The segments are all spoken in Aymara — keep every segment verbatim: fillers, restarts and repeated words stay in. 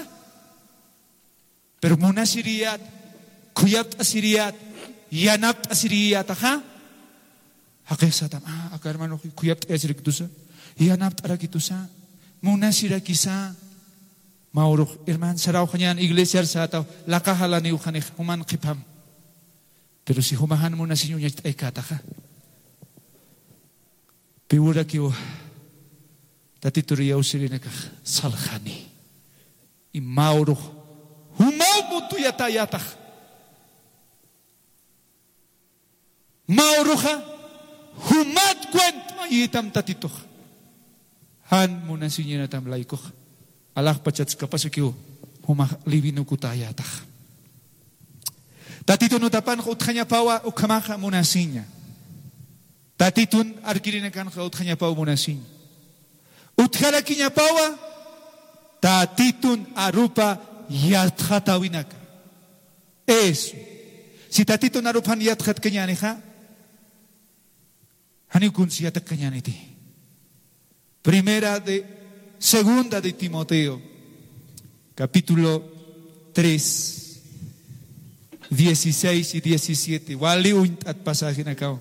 Yatxatasa. Pero munasiriyät, khuyapt'asiriyät, yanapt'asiriyätaxa. Jaqix satam, ah, aka hermano khuyapt'ayasirakitusa, yanapt'arakitusa, munasirakisa. Mä urux herman sarawxañän iglesiar sätaw, laqax alaniw janix juman qhipam. Pero si juma jan munasiñ uñacht'aykätaxa, piwurakiw Tatitur iyawsirinakax salxani. Y mä urux jumaw mutuyatäyätax. Mä uruxa jumat cuentmayitam Tatitux. Jan munasiñätam laykuxa. Alaxpachats kapasukiw jumax livinukutäyätax. Tatitun utapanxa utjañapawa ukhamaxa munasiña. Tatitun arkirinakanxa utjañapaw munasiña. Utjarakiñapawa Tatitun arupa yatxatäwinaka. Eso. Si Tatitun arupan yatxatkañänixa, janiw kuns yatxatkañäniti. Primera de, segunda de Timoteo, capítulo tres, dieciséis y diecisiete. Wali uñt'at pasajenakaw.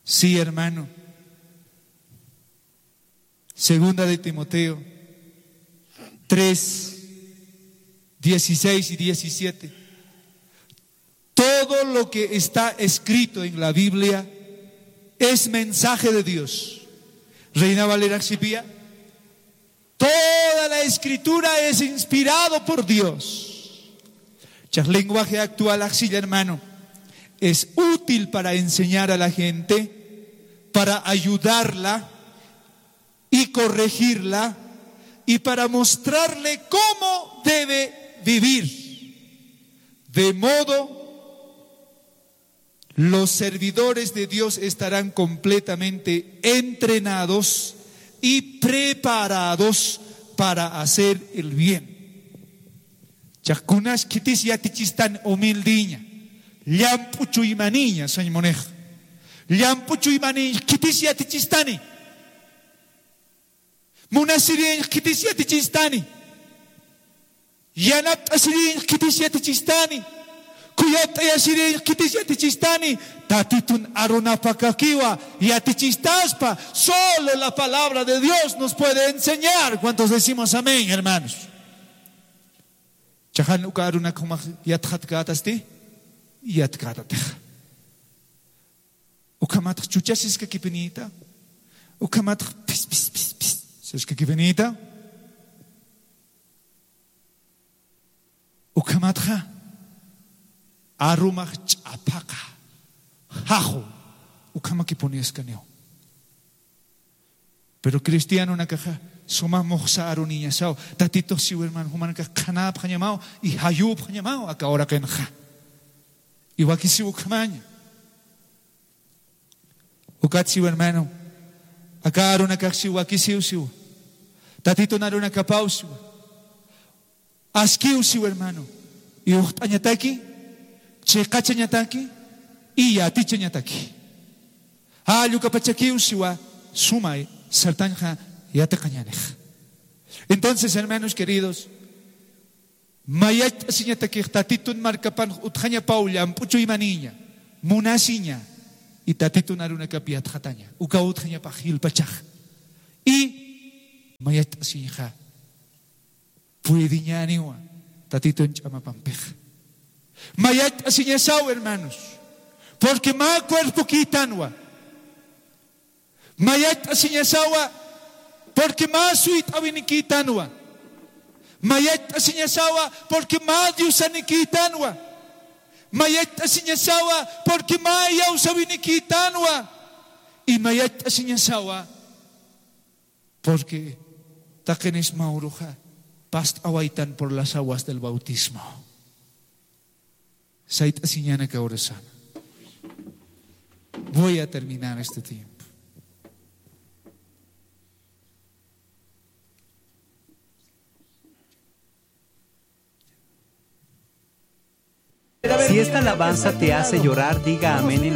Sí, hermano. Segunda de Timoteo tres, dieciséis y diecisiete. Todo lo que está escrito en la Biblia es mensaje de Dios. Reina Valera sipïya. Toda la escritura es inspirado por Dios. Chax lenguaje actual axilla, hermano. Es útil para enseñar a la gente, para ayudarla y corregirla y para mostrarle cómo debe vivir. De modo, los servidores de Dios estarán completamente entrenados y preparados para hacer el bien. Chax kunas khitis yatichistani humildiña, llamp'u chuymaniña, sañ munix. Llamp'u chuymaniñ khitis yatichistani. Munasiriñ khitis yatichistani. Yanapt'asiriñ khitis yatichistani. Khuyapt'ayasiriñ khitis yatichistani. Tatitun arunapakakiwa yatichistaspa. Solo la palabra de Dios nos puede enseñar. ¿Cuántos decimos amén, hermanos? Chaxan uka arunak jumax yatxatkätasti, yatkätatix. Ukhamatx chuchasiskakipinïta. Ukhamatx pis, pis, pis, pis siskakipinïta. Ukhamatxa arumax ch'aphaqa jaxu, ukhamakipuniskaniw. Pero cristianonakaxa suma muxsa aruniñasaw. Tatitux siw, hermano, jumanakax qhanäpxañamaw y jayüpxañamaw aka uraqinxa. Y wakisiw ukhamaña. Ukat siw, hermano, aka arunakax siw wakisiw siw. Tatitun arunakapaw siw. Askiw siw, hermano. Iyuxt'añataki, chiqachañataki, y yatichañataki. Jallukapachakiw siwa, sumay sartañxa yatiqañanix. Entonces, hermanos queridos, mayacht'asiñatakix Tatitun markapan utjañapaw llamp'u chuymanïña, munasiña, y Tatitun arunakap yatxataña, ukaw utjañapax jilpachax. Y mayacht'asiñxa puediñäniwa Tatitun ch'amapampixa. Mayacht'asiñasaw, hermanos, porque mä cuerpokïtanwa. Mayacht'asiñasawa, porque mä suyt'awinikïtanwa. Mayacht'asiñasawa, porque mä diosanikïtanwa. Mayacht'asiñasawa, porque mä iyawsawinikïtanwa. Y mayacht'asiñasawa, porque taqinis mä uruxa past'awaytan por las aguas del bautismo. Sayt'asiñanaka urasana. Voy a terminar este tiempo. Si esta alabanza te hace llorar, diga amén en